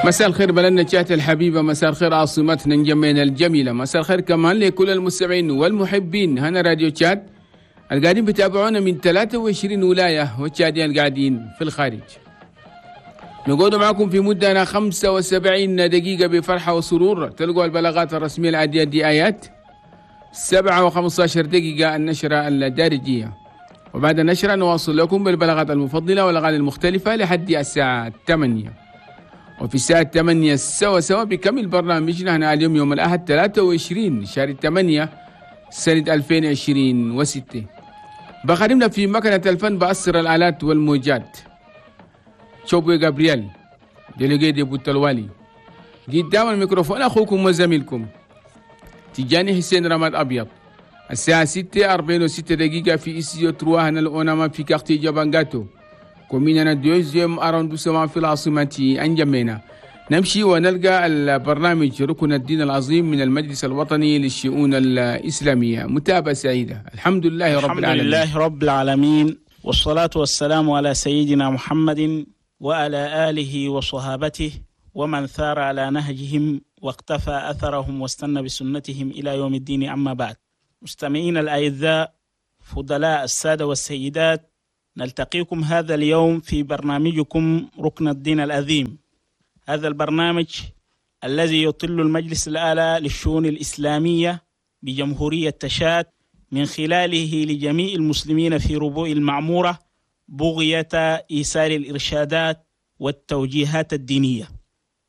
مساء الخير بلدنا تشاد الحبيبة، مساء الخير عاصمتنا نجمينا الجميلة، مساء الخير كمان لكل المستمعين والمحبين هنا راديو تشاد القاعدين بتابعونا من 23 ولاية والتشاديين القاعدين في الخارج. نقعد معكم في مدة 75 دقيقة بفرحة وسرور. تلقوا البلاغات الرسمية العادية دي آيات 7:15 النشرة الدارجية، وبعد النشرة نواصل لكم بالبلاغات المفضلة والأغاني المختلفة لحد الساعة 8. وفي الساعة 8 سوا سوا بكمل برنامجنا هنا اليوم يوم الأحد 23 شهر 8 سنة 2026. بخدمنا في مكنة الفن بأسر الآلات والموجات شوبوي جابرييل délégué de بوتلوالي. قدام الميكروفون أخوكم وزميلكم تجاني حسين رماد أبيض. الساعة 6:46 في استديو 3 هنا الأوناما في quartier جابانجاتو commune deuxième arrondissement في العاصمة أنجمينا. نمشي ونلقى البرنامج ركن الدين العظيم من المجلس الوطني للشؤون الإسلامية. متابعة سعيدة. الحمد لله رب العالمين. الحمد لله رب العالمين، والصلاة والسلام على سيدنا محمد وعلى آله وصحابته ومن ثار على نهجهم واقتفى أثرهم واستنى بسنتهم إلى يوم الدين. أما بعد، مستمعين الأعزاء، فضلاء السادة والسيدات، نلتقيكم هذا اليوم في برنامجكم ركن الدين العظيم. هذا البرنامج الذي يطل المجلس الأعلى للشؤون الإسلامية بجمهورية تشاد من خلاله لجميع المسلمين في ربوع المعمورة بغية إيصال الإرشادات والتوجيهات الدينية.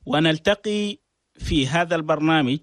ونلتقي في هذا البرنامج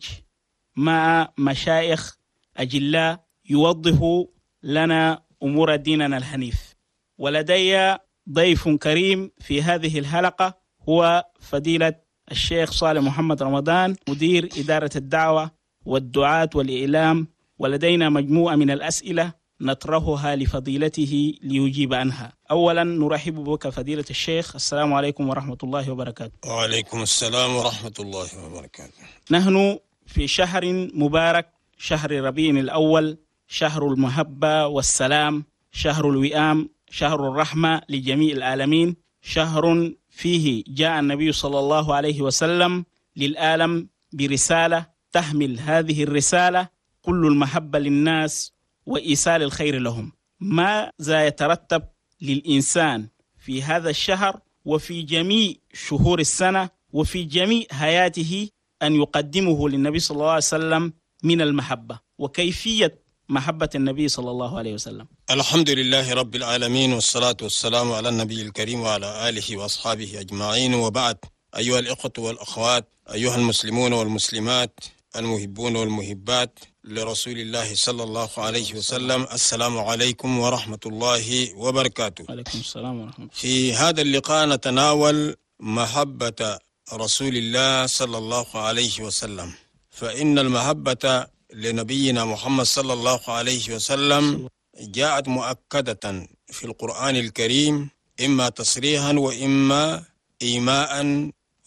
مع مشايخ أجلاء يوضحوا لنا أمور ديننا الحنيف. ولدي ضيف كريم في هذه الحلقة، هو فضيلة الشيخ صالح محمد رمضان، مدير إدارة الدعوة والدعاة والإعلام، ولدينا مجموعة من الأسئلة نطرحها لفضيلته ليجيب عنها. أولا نرحب بك فضيلة الشيخ، السلام عليكم ورحمة الله وبركاته. وعليكم السلام ورحمة الله وبركاته. نحن في شهر مبارك، شهر ربيع الأول، شهر المحبة والسلام، شهر الوئام، شهر الرحمة لجميع العالمين، شهر فيه جاء النبي صلى الله عليه وسلم للعالم برسالة تحمل هذه الرسالة كل المحبة للناس وإيصال الخير لهم. ماذا يترتب للإنسان في هذا الشهر وفي جميع شهور السنة وفي جميع حياته أن يقدمه للنبي صلى الله عليه وسلم من المحبة، وكيفية محبة النبي صلى الله عليه وسلم؟ الحمد لله رب العالمين، والصلاة والسلام على النبي الكريم وعلى آله وأصحابه أجمعين، وبعد. أيها الإخوة والأخوات، أيها المسلمون والمسلمات، المحبون والمحبات لرسول الله صلى الله عليه وسلم، السلام عليكم ورحمة الله وبركاته. عليكم السلام ورحمة الله. في هذا اللقاء نتناول محبة رسول الله صلى الله عليه وسلم، فإن المحبة لنبينا محمد صلى الله عليه وسلم جاءت مؤكدة في القرآن الكريم، إما تصريحا وإما إيماء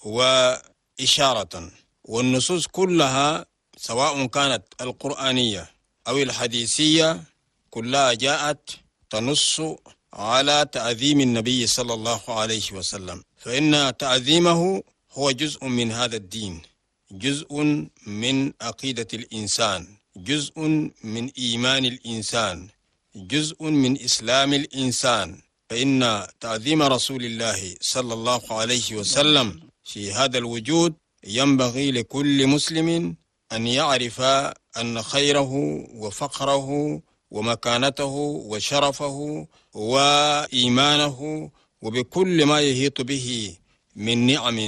وإشارة، والنصوص كلها سواء كانت القرآنية أو الحديثية كلها جاءت تنص على تعظيم النبي صلى الله عليه وسلم، فإن تعظيمه هو جزء من هذا الدين، جزء من عقيدة الإنسان، جزء من إيمان الإنسان، جزء من إسلام الإنسان. فإن تعظيم رسول الله صلى الله عليه وسلم في هذا الوجود ينبغي لكل مسلم أن يعرف أن خيره وفقره ومكانته وشرفه وإيمانه وبكل ما يحيط به من نعم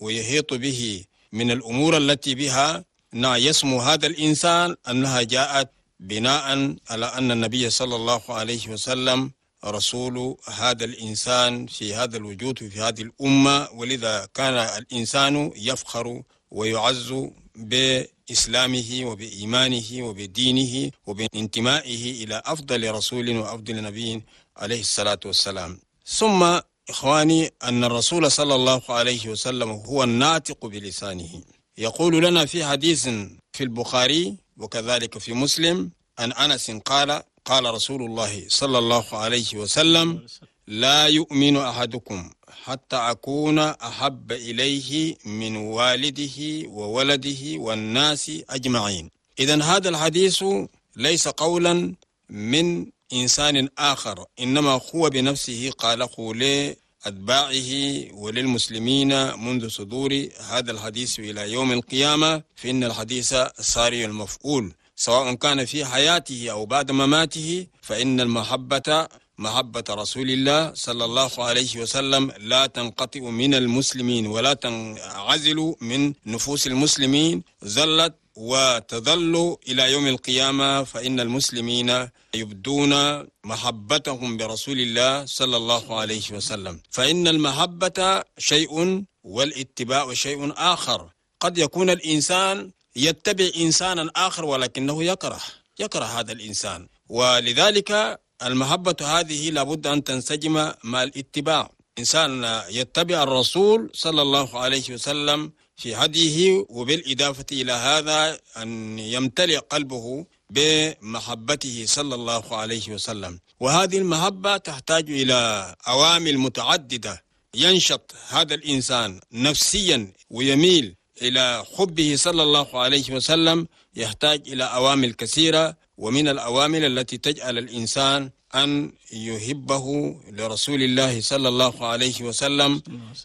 ويحيط به من الأمور التي بها يسمو هذا الإنسان أنها جاءت بناء على أن النبي صلى الله عليه وسلم رسول هذا الإنسان في هذا الوجود وفي هذه الأمة، ولذا كان الإنسان يفخر ويعز بإسلامه وبإيمانه وبدينه وبانتمائه إلى أفضل رسول وأفضل نبي عليه الصلاة والسلام. ثم إخواني، أن الرسول صلى الله عليه وسلم هو الناطق بلسانه، يقول لنا في حديث في البخاري وكذلك في مسلم أن أنس قال: قال رسول الله صلى الله عليه وسلم: لا يؤمن أحدكم حتى أكون أحب إليه من والده وولده والناس أجمعين. إذن هذا الحديث ليس قولا من إنسان آخر، إنما هو بنفسه قاله لأتباعه وللمسلمين منذ صدور هذا الحديث إلى يوم القيامة. فإن الحديث ساري المفعول، سواء كان في حياته أو بعد مماته، فإن المحبة محبة رسول الله صلى الله عليه وسلم لا تنقطع من المسلمين ولا تنعزل من نفوس المسلمين، ظلت وتظل إلى يوم القيامة. فإن المسلمين يبدون محبتهم برسول الله صلى الله عليه وسلم. فإن المحبة شيء والاتباع شيء آخر. قد يكون الإنسان يتبع إنسانا آخر ولكنه يكره هذا الإنسان، ولذلك المحبة هذه لابد أن تنسجم مع الاتباع. إنسان يتبع الرسول صلى الله عليه وسلم في هديه، وبالإضافة إلى هذا أن يمتلئ قلبه بمحبته صلى الله عليه وسلم. وهذه المحبة تحتاج إلى عوامل متعددة. ينشط هذا الإنسان نفسيا ويميل إلى حبه صلى الله عليه وسلم، يحتاج إلى عوامل كثيرة، ومن العوامل التي تجعل الإنسان أن يحبه لرسول الله صلى الله عليه وسلم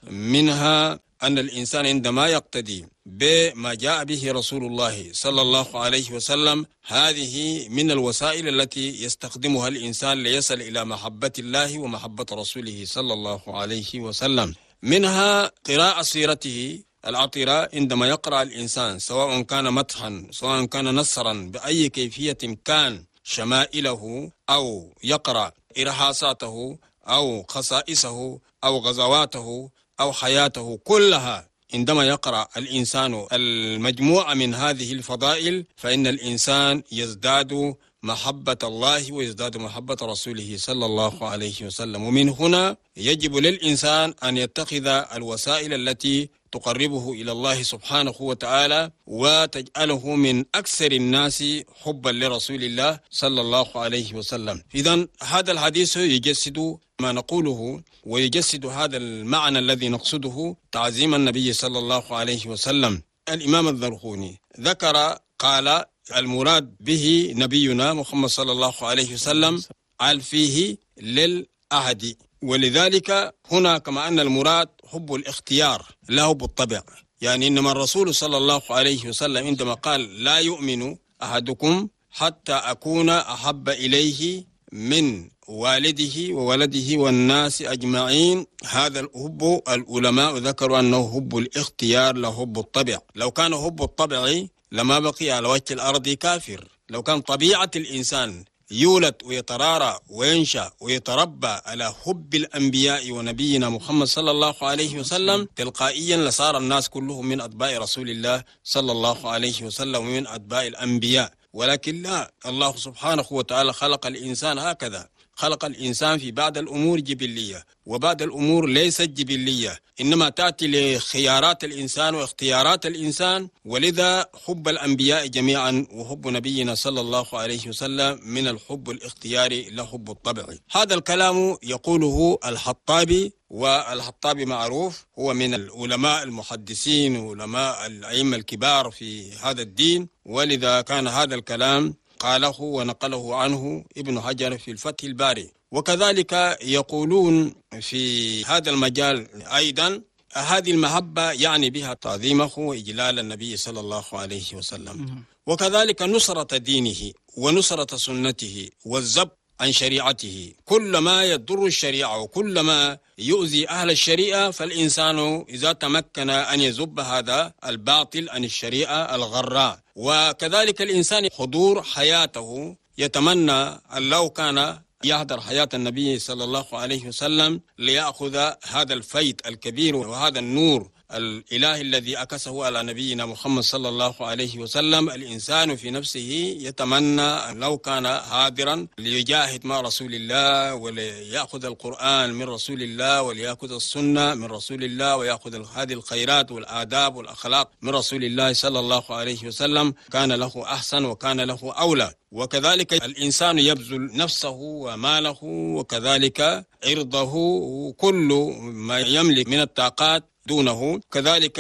منها أن الإنسان عندما يقتدي بما جاء به رسول الله صلى الله عليه وسلم، هذه من الوسائل التي يستخدمها الإنسان ليصل إلى محبة الله ومحبة رسوله صلى الله عليه وسلم. منها قراءة سيرته العطرة. عندما يقرأ الإنسان سواء كان مدحا سواء كان نصرا بأي كيفية كان شمائله، أو يقرأ إرهاصاته أو خصائصه أو غزواته أو حياته كلها، عندما يقرأ الإنسان المجموعة من هذه الفضائل فإن الإنسان يزداد محبة الله ويزداد محبة رسوله صلى الله عليه وسلم. ومن هنا يجب للإنسان أن يتخذ الوسائل التي تقربه إلى الله سبحانه وتعالى وتجعله من أكثر الناس حبا لرسول الله صلى الله عليه وسلم. إذن هذا الحديث يجسد ما نقوله ويجسد هذا المعنى الذي نقصده، تعظيم النبي صلى الله عليه وسلم. الإمام الذرخوني ذكر قال المراد به نبينا محمد صلى الله عليه وسلم قال فيه للأهد، ولذلك هنا كما أن المراد حب الاختيار لا حب الطبع. يعني إنما الرسول صلى الله عليه وسلم عندما قال لا يؤمن أحدكم حتى أكون أحب إليه من والده وولده والناس أجمعين، هذا الحب العلماء ذكروا أنه حب الاختيار لا حب الطبع. لو كان حب الطبع لما بقي على وجه الأرض كافر. لو كان طبيعة الإنسان يولد ويترارى وينشأ ويتربى على حب الأنبياء ونبينا محمد صلى الله عليه وسلم، تلقائيا لصار الناس كلهم من أتباع رسول الله صلى الله عليه وسلم ومن أتباع الأنبياء. ولكن لا، الله سبحانه وتعالى خلق الإنسان هكذا، خلق الإنسان في بعض الأمور جبلية وبعض الأمور ليست جبلية، إنما تأتي لخيارات الإنسان واختيارات الإنسان. ولذا حب الأنبياء جميعا وحب نبينا صلى الله عليه وسلم من الحب الاختياري لا حب الطبعي. هذا الكلام يقوله الحطابي، والحطابي معروف، هو من العلماء المحدثين وعلماء الأئمة الكبار في هذا الدين، ولذا كان هذا الكلام قاله ونقله عنه ابن حجر في الفتح الباري. وكذلك يقولون في هذا المجال أيضا هذه المحبة يعني بها تعظيمه وإجلال النبي صلى الله عليه وسلم، وكذلك نصرة دينه ونصرة سنته والزب عن شريعته. كل ما يضر الشريعة وكل ما يؤذي أهل الشريعة فالإنسان إذا تمكن أن يزب هذا الباطل عن الشريعة الغراء. وكذلك الإنسان حضور حياته يتمنى أن لو كان يحضر حياة النبي صلى الله عليه وسلم ليأخذ هذا الفيض الكبير وهذا النور الإله الذي أكسه على نبينا محمد صلى الله عليه وسلم. الإنسان في نفسه يتمنى أن لو كان حاضرا ليجاهد مع رسول الله، وليأخذ القرآن من رسول الله، وليأخذ السنة من رسول الله، ويأخذ هذه الخيرات والآداب والأخلاق من رسول الله صلى الله عليه وسلم، كان له أحسن وكان له أولى. وكذلك الإنسان يبذل نفسه وماله وكذلك عرضه وكل ما يملك من الطاقات دونه. كذلك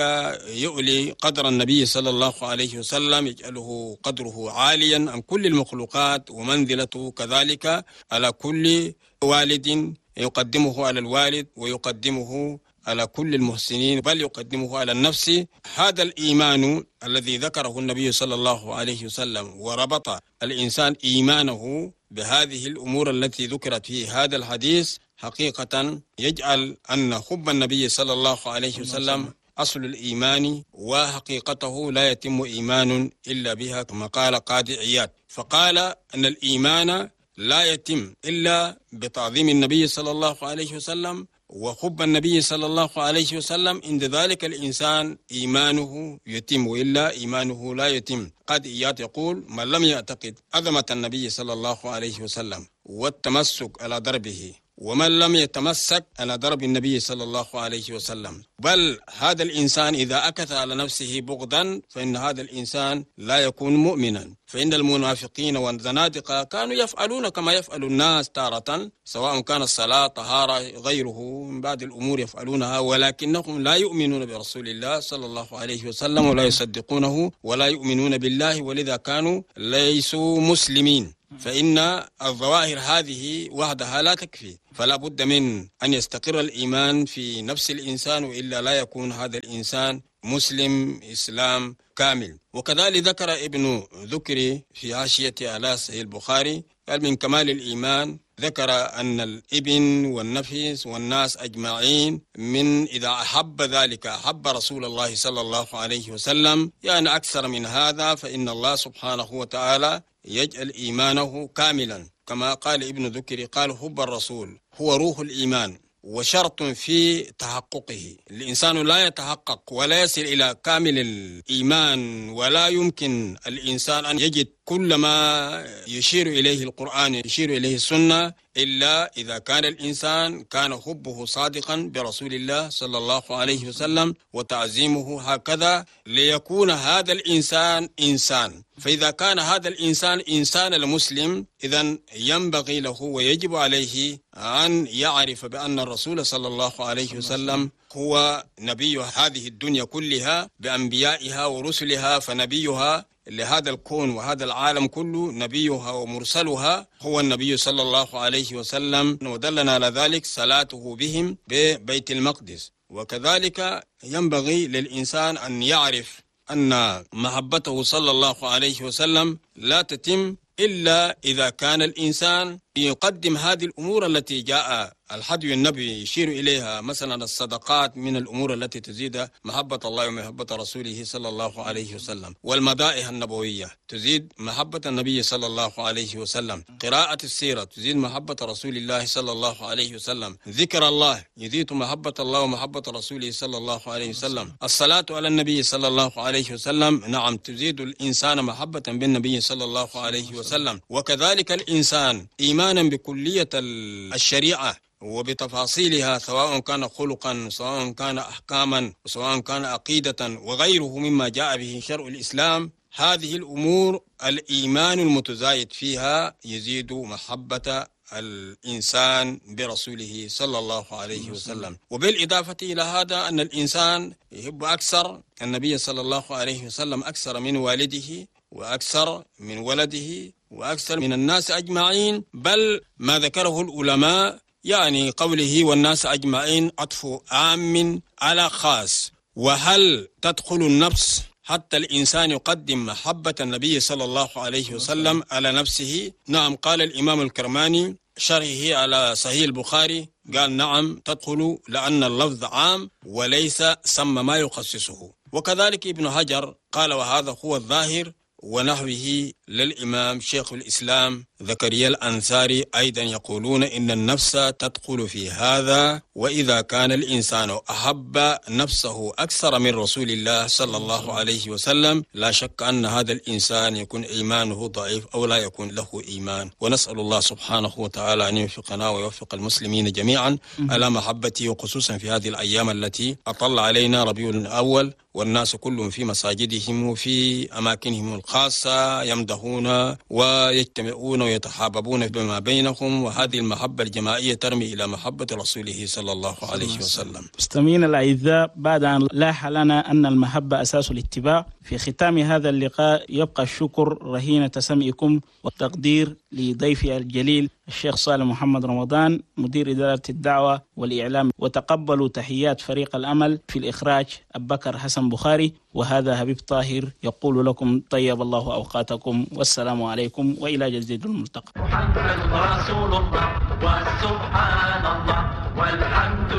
يؤلي قدر النبي صلى الله عليه وسلم، يجعله قدره عاليا عن كل المخلوقات ومنزلته كذلك على كل والد، يقدمه على الوالد ويقدمه على كل المحسنين، بل يقدمه على النفس. هذا الإيمان الذي ذكره النبي صلى الله عليه وسلم وربط الإنسان إيمانه بهذه الأمور التي ذكرت في هذا الحديث، حقيقة يجعل أن حب النبي صلى الله عليه وسلم أصل الإيمان، وحقيقته لا يتم إيمان إلا بها، كما قال قاضي عياض. فقال أن الإيمان لا يتم إلا بتعظيم النبي صلى الله عليه وسلم وحب النبي صلى الله عليه وسلم. عند ذلك الإنسان إيمانه يتم، وإلا إيمانه لا يتم. قاضي عياض يقول: من لم يعتقد عظمة النبي صلى الله عليه وسلم والتمسك على دربه، ومن لم يتمسك على درب النبي صلى الله عليه وسلم، بل هذا الإنسان إذا أكث على نفسه بغضا فإن هذا الإنسان لا يكون مؤمنا. فإن المنافقين والزنادقة كانوا يفعلون كما يفعل الناس تارة، سواء كان الصلاة، طهارة، غيره من بعض الأمور يفعلونها، ولكنهم لا يؤمنون برسول الله صلى الله عليه وسلم ولا يصدقونه ولا يؤمنون بالله، ولذا كانوا ليسوا مسلمين. فإن الظواهر هذه وحدها لا تكفي، فلا بد من أن يستقر الإيمان في نفس الإنسان، وإلا لا يكون هذا الإنسان مسلم إسلام كامل. وكذلك ذكر ابن ذكري في حاشية على صحيح البخاري، قال من كمال الإيمان ذكر أن الابن والنفس والناس أجمعين من إذا أحب ذلك أحب رسول الله صلى الله عليه وسلم، يعني أكثر من هذا، فإن الله سبحانه وتعالى يجعل إيمانه كاملا. كما قال ابن ذكري، قال حب الرسول هو روح الإيمان وشرط في تحققه. الإنسان لا يتحقق ولا يصل إلى كامل الإيمان، ولا يمكن الإنسان أن يجد كل ما يشير إليه القرآن يشير إليه السنة إلا إذا كان الإنسان كان حبه صادقا برسول الله صلى الله عليه وسلم وتعظيمه هكذا، ليكون هذا الإنسان إنسان. فإذا كان هذا الإنسان إنسان المسلم، إذن ينبغي له ويجب عليه أن يعرف بأن الرسول صلى الله عليه وسلم هو نبي هذه الدنيا كلها بأنبيائها ورسلها، فنبيها لهذا الكون وهذا العالم كله، نبيها ومرسلها هو النبي صلى الله عليه وسلم، ودلنا على ذلك صلاته بهم ببيت المقدس. وكذلك ينبغي للإنسان أن يعرف أن محبته صلى الله عليه وسلم لا تتم إلا إذا كان الإنسان يقدم هذه الأمور التي جاء الحدي النبي يشير إليها، مثلا الصدقات من الأمور التي تزيد محبة الله ومحبة رسوله صلى الله عليه وسلم، والمدائح النبوية تزيد محبة النبي صلى الله عليه وسلم، قراءة السيرة تزيد محبة رسول الله صلى الله عليه وسلم، ذكر الله يزيد محبة الله ومحبة رسوله صلى الله عليه وسلم، الصلاة على النبي صلى الله عليه وسلم نعم تزيد الإنسان محبة بالنبي صلى الله عليه وسلم. وكذلك الإنسان إيمانا بكلية الشريعة وبتفاصيلها، سواء كان خلقا، سواء كان أحكاما، سواء كان عقيدة وغيره مما جاء به شرع الإسلام، هذه الأمور الإيمان المتزايد فيها يزيد محبة الإنسان برسوله صلى الله عليه وسلم. وبالإضافة إلى هذا أن الإنسان يحب أكثر النبي صلى الله عليه وسلم أكثر من والده وأكثر من ولده وأكثر من الناس أجمعين، بل ما ذكره العلماء يعني قوله والناس أجمعين عطف عام على خاص. وهل تدخل النفس حتى الإنسان يقدم محبة النبي صلى الله عليه وسلم على نفسه؟ نعم، قال الإمام الكرماني شرحه على صحيح البخاري، قال نعم تدخل، لأن اللفظ عام وليس سمى ما يخصصه. وكذلك ابن حجر قال وهذا هو الظاهر، ونحوه للإمام شيخ الإسلام زكريا الأنصاري أيضا يقولون إن النفس تدخل في هذا، وإذا كان الإنسان أحب نفسه أكثر من رسول الله صلى الله عليه وسلم لا شك أن هذا الإنسان يكون إيمانه ضعيف أو لا يكون له إيمان. ونسأل الله سبحانه وتعالى أن يوفقنا ويوفق المسلمين جميعا على محبته، وخصوصا في هذه الأيام التي أطل علينا ربيع الأول والناس كلهم في مساجدهم وفي أماكنهم الخاصة يمدحون ويجتمعون ويتحاببون بما بينهم، وهذه المحبة الجماعية ترمي إلى محبة رسوله صلى الله عليه وسلم. مستمعينا الأعزاء، بعد أن لاح لنا أن المحبة أساس الاتباع، في ختام هذا اللقاء يبقى الشكر رهينة سمعكم والتقدير لضيفي الجليل الشيخ صالح محمد رمضان مدير إدارة الدعوة والإعلام، وتقبلوا تحيات فريق الأمل في الإخراج أبو بكر حسن بخاري، وهذا حبيب طاهر يقول لكم طيب الله أوقاتكم، والسلام عليكم وإلى جديد الملتقى. محمد رسول الله وسبحان الله والحمد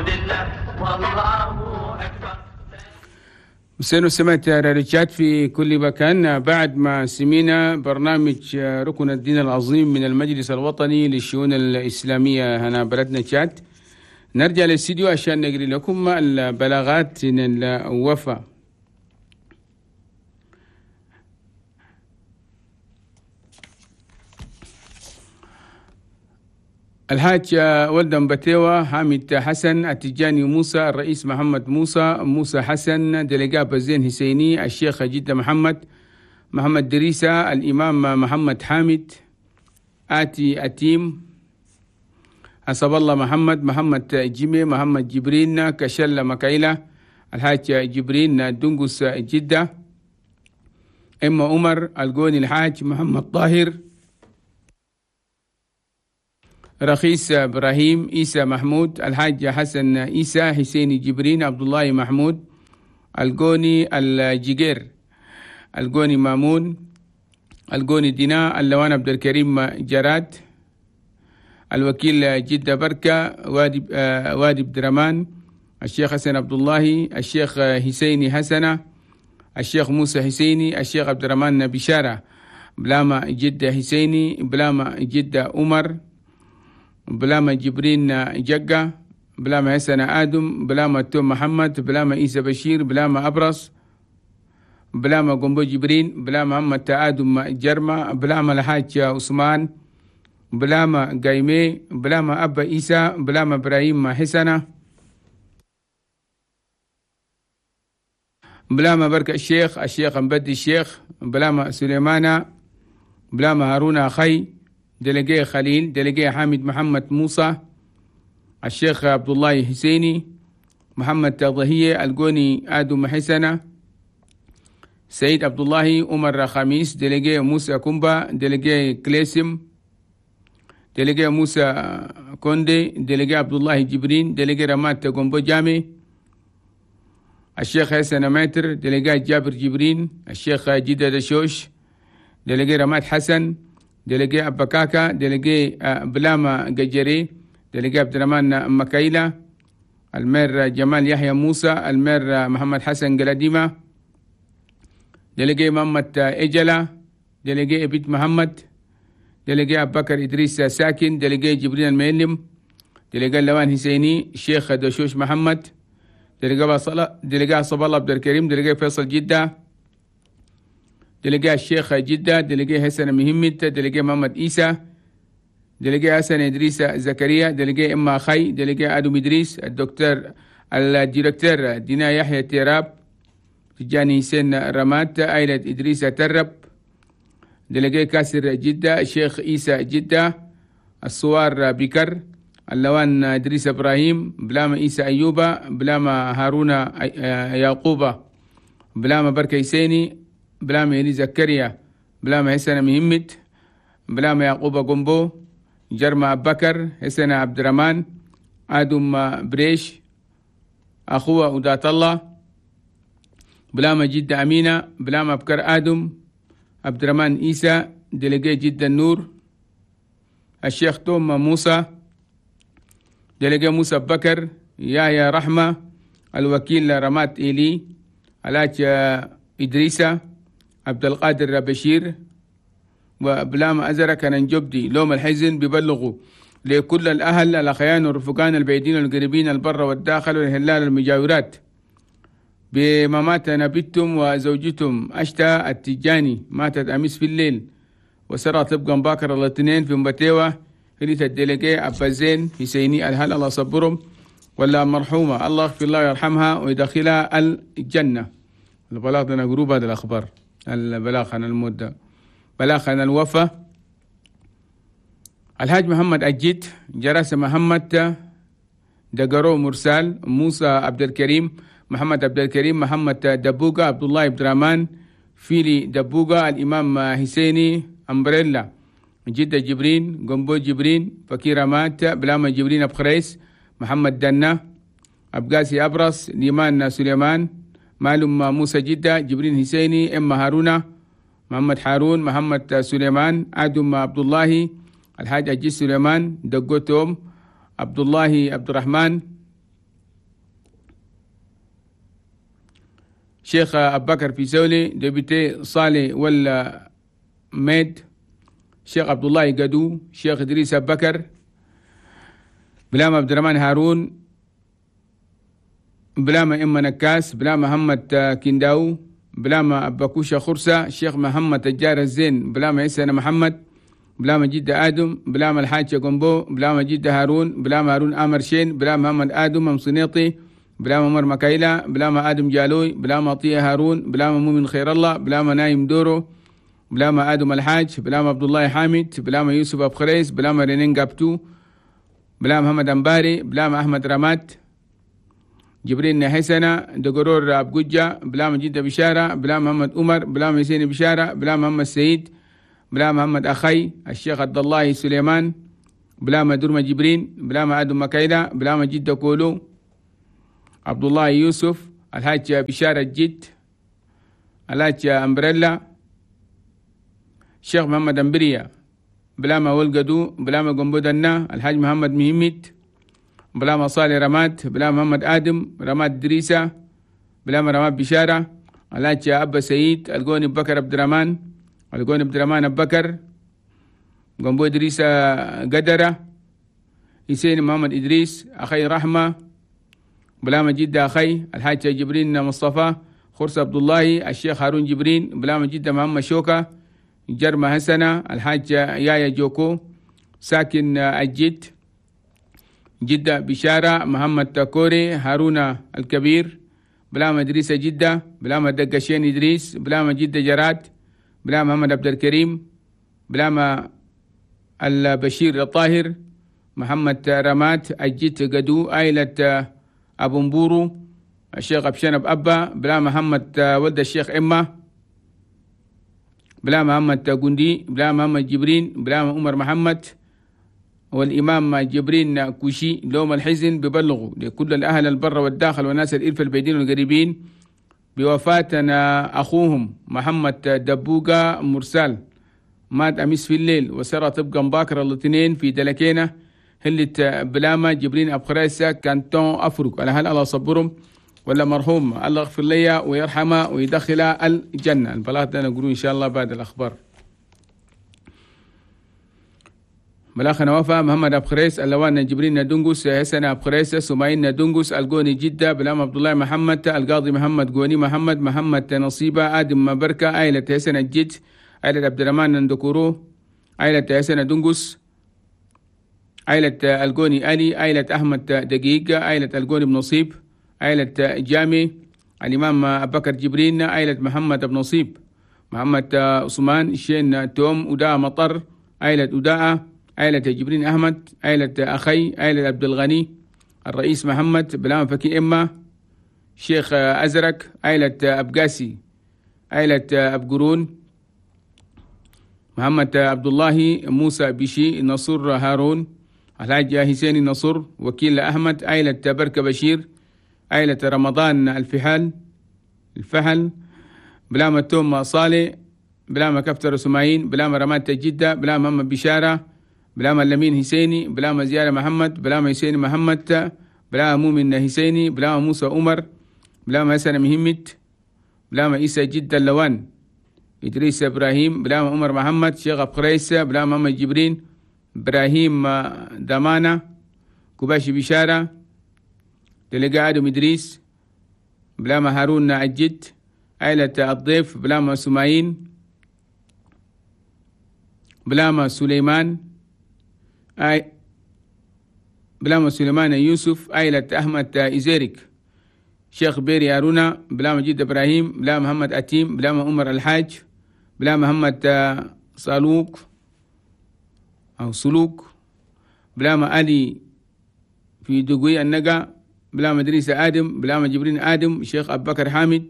لله والله أكبر. مسينو سمعت راديو في كل مكان. بعد ما سمينا برنامج ركن الدين العظيم من المجلس الوطني للشؤون الإسلامية هنا بلدنا تشاد، نرجع للاستديو عشان نقري لكم البلاغات من الوفا. الحاج ولدن بتيوة، حامد حسن، التجاني موسى، الرئيس محمد موسى، موسى حسن، دلقاب الزين حسيني، الشيخ جدة محمد، محمد دريسة، الإمام محمد حامد، آتي أتيم، حسب الله محمد، محمد جيمي، محمد جبرين، كشل مكايلة، الحاج جبرين دنقس جدة، إما عمر، القوني الحاج محمد طاهر، رخيص إبراهيم، إيسى محمود، الحاج حسن إيسى، حسين جبرين، عبد الله محمود، القوني الجيجير، القوني مامون، القوني دينا، اللوان عبد الكريم جراد، الوكيل جدة بركة، وادي بدرمان، الشيخ حسن عبد الله، الشيخ حسيني حسنة، الشيخ موسى حسيني، الشيخ عبد الرحمن بشارة، بلاما جدة حسيني، بلاما جدة عمر، بلاما جبرين جقة، بلاما حسن آدم، بلاما توم محمد، بلاما إيسى بشير، بلاما أبرص، بلاما قنبو جبرين، بلاما محمد آدم جرمة، بلاما الحاج عثمان، بلاما قايمي، بلاما أبا إيسى، بلاما إبراهيم حسنة، بلاما بركة الشيخ، الشيخ مبدي الشيخ، بلاما سليمانة، بلاما هارون أخي، دلقي خليل، دلقي حامد محمد موسى، الشيخ عبد الله حسيني، محمد تضهية، القوني آدم حسنة، سيد عبد الله، عمر خميس، دلقي موسى كومبا، دلقي كليسم، دلقي موسى كوندي، دلقي عبد الله جبرين، دلقي رمات كومبو جامي، الشيخ حسن ماتر، دلقي جابر جبرين، الشيخ جدة دشوش، دلقي رمات حسن، دلقي أبا كاكا، دلقي بلاما قجري، دلقي عبد الرحمن مكايلة، المير جمال يحيى موسى، المير محمد حسن قلديمة، دلقي محمد إجلة، دلقي إبيت محمد، دلقي أبو بكر إدريس ساكن، دلقي جبريل المعلم، دلقي اللوان حسيني، الشيخ دشوش محمد، دلقي صب الله عبد الكريم، دلقي فيصل جدة، دلقي الشيخ جدة، دلقي حسن مهمت، دلقي محمد إيسى، دلقي حسن إدريس زكريا، دلقي إما خي، دلقي آدم إدريس، الدكتور الديركتور دينا يحيى تيراب، تجاني حسين رمات، آيلة إدريس ترب، دلقي كاسر جدة، الشيخ إيسى جدة، الصوار بكر، اللوان إدريس إبراهيم، بلاما إيسى أيوبة، بلاما هارون يعقوبة، بلاما بركة حسيني، بلاما إلي زكريا، بلاما حسن مهمت، بلاما يعقوب قنبو، جرما بكر، حسن عبد الرحمن، آدم بريش، أخوه ودات الله، بلاما جدة أمينة، بلاما بكر آدم، عبد الرحمن إيسى، دلقي جدة النور، الشيخ توم موسى، دلقي موسى بكر، يحيى رحمة، الوكيل رمات إيلي، علاج إدريسة، عبد القادر بشير وبلام أزرك ننجبدي لوم الحزن ببلغوا لكل الأهل الأخيان والرفقان البعيدين والقريبين البر والداخل والهلال المجاورات بممات نبتهم وزوجتهم أشتا التجاني، ماتت أمس في الليل وسرى تبقى باكر الاثنين في مبتيوة هريت الدلقي أبا زين حسيني الهل الله صبرهم ولا مرحومة الله يغفر الله ويرحمها ويدخلها الجنة. البلاغ لنا جروب هذا الأخبار، البلاغ عن المدة، بلاغ عن الوفاة. الحاج محمد أجيت، جرس محمد دقرو مرسال، موسى عبد الكريم، محمد عبد الكريم، محمد دبوغا، عبد الله عبد الرحمن فيلي دبوغا، الإمام حسيني أمبريلا، جدة جبرين، قنبو جبرين، فكيرة مات، بلاما جبرين أبخريس، محمد دنا، أبقاسي أبرص، ليمان سليمان، معلوم موسى جدة، جبرين حسيني، إما هارونا، محمد هارون، محمد سليمان، آدم عبد الله، الحاج أجي سليمان، دقوتهم، عبد الله عبد الرحمن، شيخ أبو بكر في سولي، دبيتي صالح ولا ميد، شيخ عبد الله قدو، شيخ إدريس أبو بكر، بلام عبد الرحمن هارون، بلام إما نكاس، بلام محمد كنداو، بلام أباكوشة خرسة، شيخ محمد تجار الزين، بلام عيسى محمد، بلام جدة آدم، بلام الحاج قنبو، بلام جدة هارون، بلام هارون آمر شين، بلام محمد آدم مصنيطي، بلام عمر مكايلة، بلام آدم جالوي، بلام عطية هارون، بلام مؤمن خير الله، بلام نايم دورو، بلام آدم الحاج، بلام عبد الله حامد، بلام يوسف أبو خريس، بلام رنين قابتو، بلام محمد أمباري، بلام أحمد رمات، جبرين حسنة، دقرور أبجوجة، بلام جدة بشارة، بلام محمد عمر، بلام حسين بشارة، بلام محمد سعيد، بلام محمد أخي، الشيخ عبد الله سليمان، بلام درمة جبرين، بلام آدم مكايلة، بلام جدة كولو، عبد الله يوسف، الحاج بشارة الجد، الحاج أمبريلا، الشيخ محمد أمبريا، بلام ولقدو، بلام قنبودنا، الحاج محمد مهمت، بلام صالح رماد، بلام محمد آدم، رماد دريسة، بلام رماد بشارة، الحاج أبا سعيد، القوني بكر عبد الرحمن، القوني عبد الرحمن أبو بكر، قنبو إدريس قدرة، حسين محمد إدريس، أخي رحمة، بلام جدة أخي، الحاج جبرين مصطفى، خرس عبد الله، الشيخ هارون جبرين، بلام جدة محمد شوكة، جرمة حسنة، الحاج يايا جوكو، ساكن الجد، جدة بشارة، محمد تاكوري، هارون الكبير، بلام إدريس جدة، بلام دقشين إدريس، بلام جدة جراد، بلام محمد عبد الكريم، بلام البشير الطاهر، محمد رمات، الجد قدو، عائلة أبو مبورو، الشيخ أبشنب أبا، بلا محمد ولد الشيخ إما، بلا محمد قندي، بلا محمد جبرين، بلا عمر محمد، والإمام جبرين كوشي. لوم الحزن ببلغوا لكل الأهل البر والداخل والناس الإلف البعيدين والقريبين بوفاتنا أخوهم محمد دبوغا مرسال، مات أمس في الليل وسرى تبقى باكر الاثنين في دلكينة هلة بلاما جبرين أبو خريسة كانتون أفرق. على هل الله صبرهم ولا مرحوم الله يغفر لي ويرحمه ويدخل الجنة. البلاغ ده نقوله إن شاء الله بعد الأخبار. بلاغنا وفا محمد أبو خريس، اللوان جبرين دونغوس، حسن أبو خريس، سمعين دونغوس، القوني جدة، بلام عبد الله محمد، القاضي محمد قوني محمد، محمد نصيبة، آدم بركة، عائلة حسن الجد، عائلة عبد الرحمن ندكورو، عائلة حسن دونغوس، عائلة القوني علي، عائلة أحمد دقيق، عائلة القوني بن نصيب، عائلة جامي، الإمام أبو بكر جبرين، عائلة محمد بن نصيب، محمد عثمان، شين توم، أداء مطر، عائلة أداء، عائلة جبرين أحمد، عائلة أخي، عائلة عبد الغني، الرئيس محمد، بلام فكي إما، شيخ أزرق، عائلة أبقاسي، عائلة أبقرون، محمد عبد الله، موسى بشي، نصر هارون، الحاج حسين نصر، وكيل أحمد، عائلة بركة بشير، عائلة رمضان الفحل، بلامة توم صالح، بلامة كفتر سماعين، بلامة رمات جدة، بلامة محمد بشارة، بلامة لمين حسيني، بلامة زيارة محمد، بلامة حسين محمد، بلامة مؤمن حسيني، بلامة موسى عمر، بلامة حسن مهمت، بلامة عيسى جدة اللوان، إدريس إبراهيم، بلامة عمر محمد، شيخ أبخريس، بلامة محمد جبرين، إبراهيم دمانة، كباشي بشارة، دلقاء آدم إدريس، بلامة هارون الجد، عائلة الضيف، بلامة سمايين، بلامة سليمان، بلامة سليمان يوسف، عائلة أحمد إزيرك، شيخ بيري هارونا، بلامة جد إبراهيم، بلامة محمد أتيم، بلامة عمر الحاج، بلامة محمد صالوك أو سلوك، بلامة علي في دقوي النقا، بلامة إدريس آدم، بلامة جبرين آدم، شيخ أبو بكر حامد،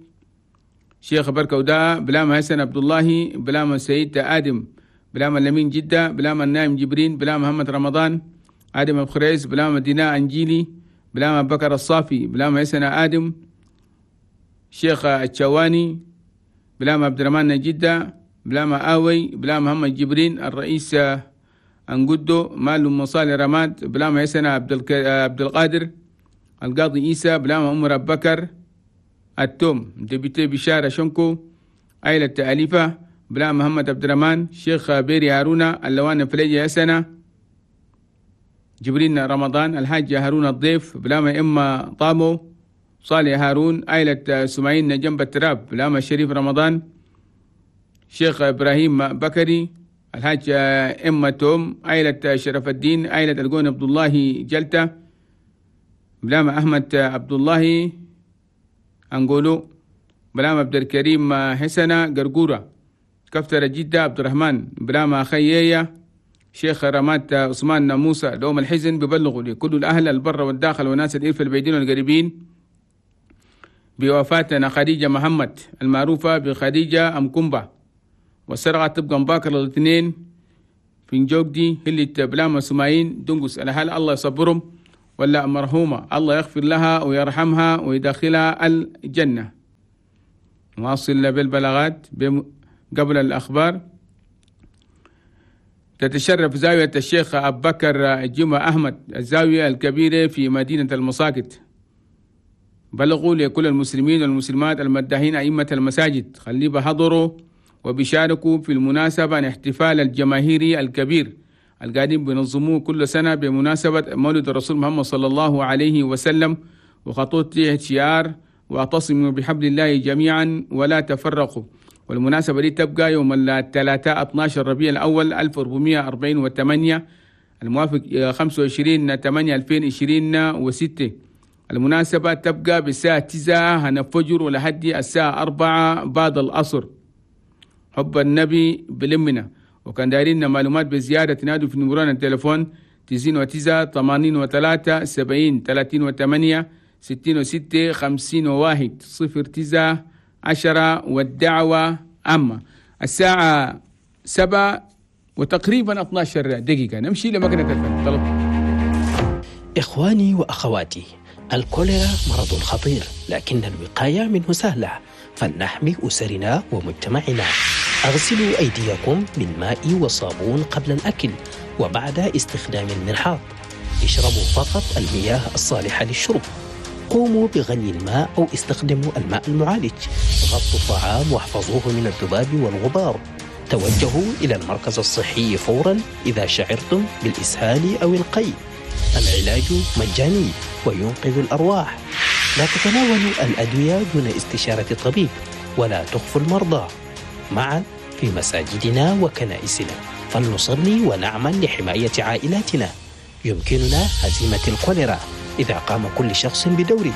شيخ بركة وداء، بلامة حسن عبد الله، بلامة سيد آدم، بلامة لمين جدة، بلامة النايم جبرين، بلامة محمد رمضان، آدم أبو خريس، بلامة ديناء أنجيلي، بلامة بكر الصافي، بلامة حسن آدم، شيخ الشواني، بلامة عبد الرحمن جدة، بلامة آوي، بلامة محمد جبرين، الرئيس أنقدو، مال مصالح رماد، بلامة حسن عبد القادر، القاضي إيسى، بلامة عمر أبو بكر التوم، député بشارة شنكو، عائلة أليفة، بلامة محمد عبد الرحمن، شيخ بيري هارونا، اللوان فليجي حسنة، جبرين رمضان، الحاج هارون الضيف، بلامة إما طامو، صالح هارون، عائلة سمعين جنب التراب، بلامة شريف رمضان، شيخ إبراهيم بكري، الحاج إما توم، عائلة شرف الدين، عائلة القون عبد الله جلتة، بلامة أحمد عبد الله أنقولو، بلامة عبد الكريم حسنة قرقورة، كفتر جدة عبد الرحمن، بلامة خيية، شيخ رمات عثمان موسى. دوم الحزن ببلغوا لكل الأهل البر والداخل وناس الإرف البعيدين والقريبين بوفاتنا خديجة محمد المعروفة بخديجة أم كومبا، والسرعة تبقى مباكر الاثنين في نجوكدي اللي بلامة سمايين دنقس. الأهل الله يصبرهم، ولا مرحومة الله يغفر لها ويرحمها ويدخلها الجنة. نواصل بالبلاغات قبل الأخبار. تتشرف زاوية الشيخ أبو بكر جمعة أحمد الزاوية الكبيرة في مدينة المساكت. بلغوا لكل المسلمين والمسلمات المداحين أئمة المساجد خلي بحضروا وبيشاركوا في المناسبة الاحتفال الجماهيري الكبير القادم بنظموه كل سنة بمناسبة مولد الرسول محمد صلى الله عليه وسلم، وخطوط شعار واعتصموا بحبل الله جميعا ولا تفرقوا. والمناسبة دي تبقى يوم الثلاثاء 12 ربيع الأول 1448 الموافق 25/8/2026. المناسبة تبقى بالساعة 9 هنفجر ولحد الساعة 4 بعد العصر. حب النبي بلمنا. وكان دايرين معلومات بزيادة تنادوا في نمران التليفون 99 83 70 38 66 51 09 10 والدعوة عامة. الساعة 7 وتقريبا 12 دقيقة. نمشي لمكنة الفن. طلب. إخواني وأخواتي، الكوليرا مرض خطير، لكن الوقاية منه سهلة، فلنحمي أسرنا ومجتمعنا. أغسلوا أيديكم بالماء والصابون قبل الأكل وبعد استخدام المرحاض. اشربوا فقط المياه الصالحة للشرب. قوموا بغلي الماء أو استخدموا الماء المعالج. غطوا الطعام واحفظوه من الذباب والغبار. توجهوا إلى المركز الصحي فورا إذا شعرتم بالإسهال أو القيء. العلاج مجاني وينقذ الأرواح. لا تتناولوا الأدوية دون استشارة الطبيب، ولا تخفوا المرضى. معا في مساجدنا وكنائسنا فلنصلي ونعمل لحماية عائلاتنا. يمكننا هزيمة الكوليرا إذا قام كل شخص بدوره.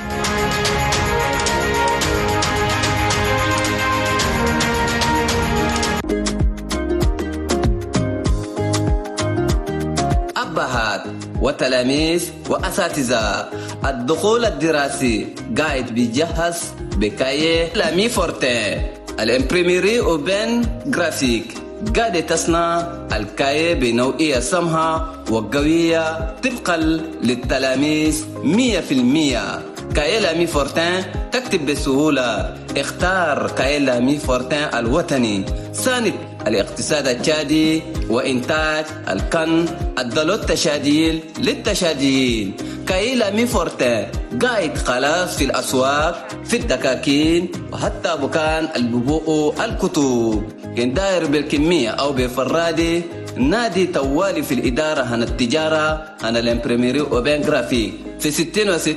أبهات وتلاميذ وأساتذة، الدخول الدراسي قاعد بيجهز ب cahier L'Ami Fortin، ال imprimerie Aubaine Graphique قاعدة تصنع ال cahier بنوعية سمحة وقوية طبقا للتلاميذ 100%. cahier L'Ami Fortin تكتب بسهولة. اختار cahier L'Ami Fortin الوطني، ساند الاقتصاد التشادي وإنتاج الكن الدلو التشاديل للتشاديين. cahier L'Ami Fortin قاعد خلاص في الأسواق، في الدكاكين، وحتى بكان الببوء الكتب. كان داير بالكمية أو بفرادي، نادي توالي في الإدارة هنا التجارة هنا ال imprimerie Aubaine Graphique في 66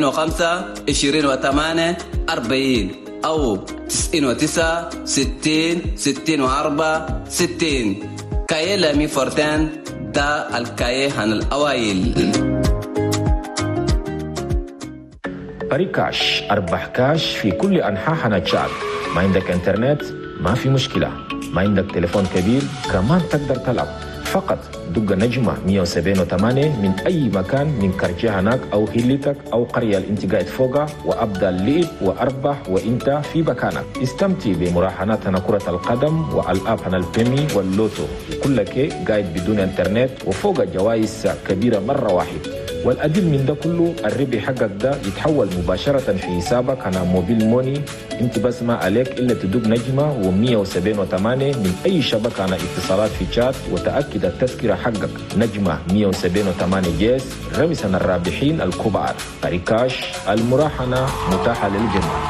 45 28 40 أو 99 60 64 60. cahier L'Ami Fortin ده ال cahier هنا الأوائل. Paris Cash، أربح كاش في كل أنحاء هنا تشاد. ما عندك انترنت؟ ما في مشكلة. ما عندك تليفون كبير؟ كمان تقدر تلعب. فقط دق نجمة 178 من أي مكان من quartier هناك أو حلتك أو قرية اللي انت قاعد فوقها، وأبدأ اللعب وأربح وانت في مكانك. استمتع بمراهنات هنا كرة القدم وألعاب هنا البيمي واللوتو، كلك قاعد بدون انترنت وفوق جوائز كبيرة مرة واحد. والأدل من ده كله الربح حقك ده يتحول مباشرة في حسابك على mobile money. انت بس ما عليك إلا تدق نجمة و178 من أي شبكة على اتصالات في تشاد وتأكد التذكرة حقك. نجمة 178 dièse، رمسنا الرابحين الكبار. Paris Cash، المراهنة متاحة للجميع.